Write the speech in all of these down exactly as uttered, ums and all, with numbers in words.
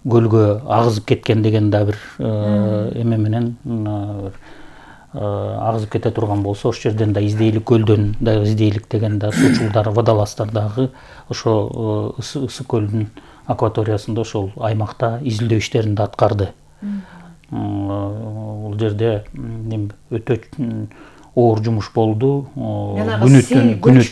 көлгө агызып кеткен деген да бир эме менен агызып кете турган болсо ошол жерден да издейлик, көлдөн дагы издейлик деген да суучулдар, водолаздар дагы ошо ысык көлдүн акваториясында ошол аймакта изилдөө иштерин да аткарды. Бул жерде өтө оор жумуш болду. Күнү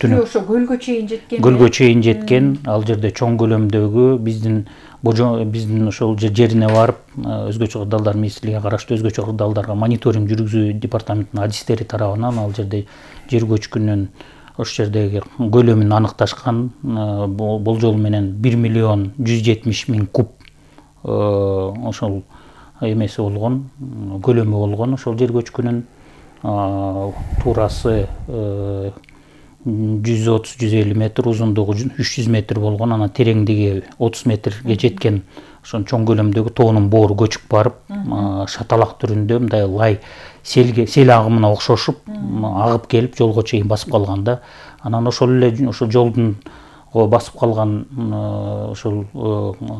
түнү ошо көлгө чейин жеткен. Көлгө чейин жеткен. Ал жерде чоң көлөмдөгү биздин биздин ошол жерине барып, өзгөчө кырдаалдар министрлигине караштуу өзгөчө кырдаалдарга мониторинг жүргүзүү департаментинин адистери тарабынан ал жерде жер көчкүнүн ошол жердеги көлөмүн аныкташкан. Болжол менен бир миллион жүз жетимиш миң куб ошол эмеси болгон, көлөмү болгон ошол жер көчкүнүн. Туурасы жүз отуз жүз элүү метр, узундугу үч жүз метр болгон, анан тереңдиги отуз метрге жеткен ошол чоң көлөмдөгү тоонун боору көчүп барып, шаталак түрүндө мындай лай селге сел агымына окшошуп агып келип жолго чейин басып калган да. Анан ошол эле ошол жолдун басып калган ошол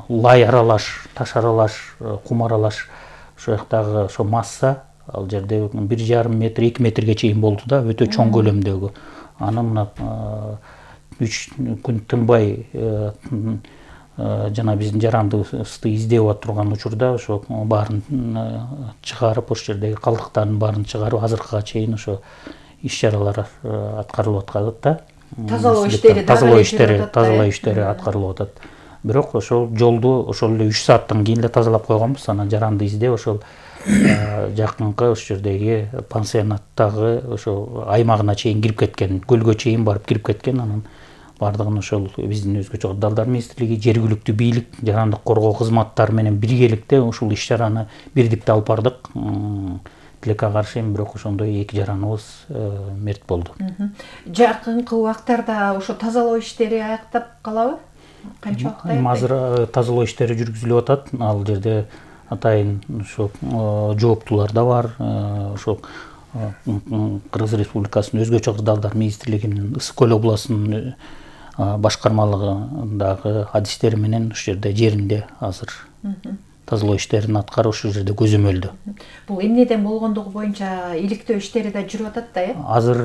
лай аралаш, таш аралаш, кум аралаш ошол жактагы ошо масса ал жерде бир жарым метр, эки метрге чейин болду да, өтө чоң көлөмдөгү. Аны мына үч күн тынбай жана биздин жарандыбызды издеп отурган учурда ошо баарын чыгарып, ошол жердеги калдыктардын баарын чыгарып, азыркыга чейин ошо иш-чаралар аткарылып аткарат да. Тазалоо иштери, тазалоо иштери, тазалоо иштери аткарылып атат. Бирок ошол жолду ошол эле үч сааттан кийин эле тазалап койгонбуз. Анан жаранды издеп ошол жакынкы ошол жердеги пансионаттагы ошо аймагына чейин кирип кеткен, көлгө чейин барып кирип кеткен. Анан бардыгын ошол биздин өзгөчө кырдаалдар министрлиги, жергиликтүү бийлик, жарандык коргоо кызматтары менен биргеликте ушул иш-чараны бирдикте алып бардык. Тилекке каршы эми бирок ошондой эки жараныбыз мерт болду. Жакынкы убактарда ошо тазалоо иштери аяктап калабы? Канча убакыт аяктайт? Азыр тазалоо иштери жүргүзүлүп атат. Ал жерде атайын ошо жооптулар да бар. Ошо Кыргыз Республикасынын өзгөчө кырдаалдар министрлигинин Ысык көл областынын башкармалыгындагы адистери менен ушул жерде жеринде азыр тазалоо иштерин аткарып ошол жерде көзөмөлдө. Бул эмнеден болгондугу боюнча иликтөө иштери да жүрүп атат да, э? Азыр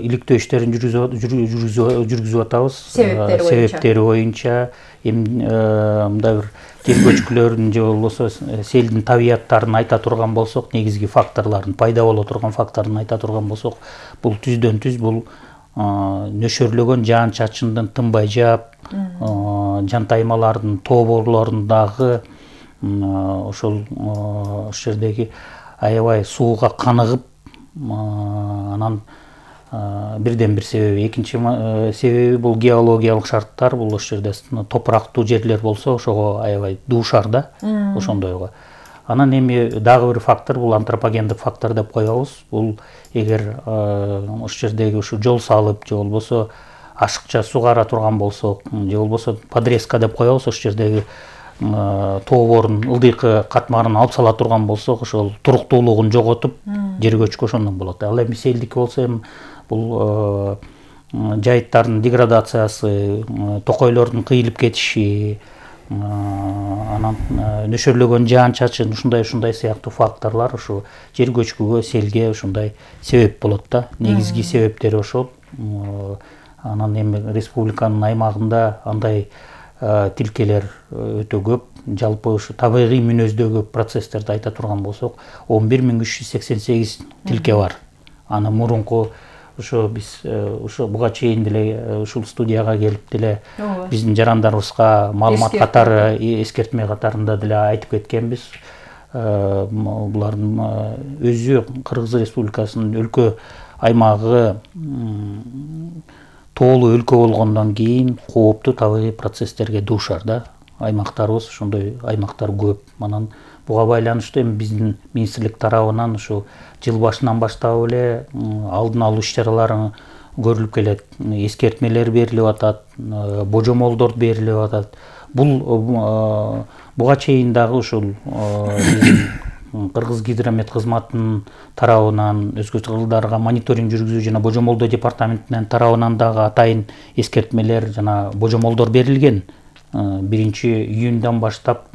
иликтөө иштерин жүргүзүп атабыз. Себептери боюнча эми мындай бир жер көчкүлөрүн же болбосо селдин табияттарын айта турган болсок, негизги факторлорун, пайда боло турган факторун айта турган болсок, бул түздөн түз бул нөшөрлөгөн жаан-чачындын тынбай жаап, жантаймалардын тоборлорундагы ошол ошол жердеги аябай сууга каныгып, анан бирден бир себеби. Экинчи себеби бул геологиялык шарттар. Бул ошол жерде топурактуу жерлер болсо, ошого аябай дуушар да, ошондойго. Анан эми дагы бир фактор, бул антропогендик фактор деп коебуз. Бул эгер ошол жердеги ушу жол салып же болбосо ашыкча сугара турган болсок, же болбосо подрезка деп коебуз, ошол жердеги тообордун ылдыйкы катмарын алып сала турган болсок, ошол туруктуулугун жоготуп, жер көчкү ошондон болот. Ал эми селдики болсо эми бул жайыттардын деградациясы, токойлордун кыйылып кетиши, анан нөшөрлөгөн жаан-чачын, ушундай ушундай сыяктуу факторлор ушу жер көчкүгө, селге ушундай себеп болот да. Негизги себептери ошол. Анан эми республиканын аймагында андай тилкелер өтө көп. Жалпы ушу табигый мүнөздөгү процесстерди айта турган болсок, он бир миң үч жүз сексен сегиз тилке бар. Аны мурунку ошо биз ошо буга чейин деле ушул студияга келип деле биздин жарандарыбызга маалымат катары, эскертме катарында деле айтып кеткенбиз. Булардын өзү Кыргыз Республикасынын өлкө аймагы тоолуу өлкө болгондон кийин кооптуу табигый процесстерге дуушар да. Аймактарыбыз ошондой аймактар көп. Анан буга байланыштуу эми биздин министрлик тарабынан ушу жыл башынан баштап эле алдын алуу иш-чаралары көрүлүп келет. Эскертмелер берилип атат, божомолдор берилип атат. Бул буга чейин дагы ушул биздин Кыргыз гидромет кызматынын тарабынан, өзгөчө кырдаалдарга мониторинг жүргүзүү жана божомолдоо департаментинин тарабынан дагы атайын эскертмелер жана божомолдор берилген. биринчи июндан баштап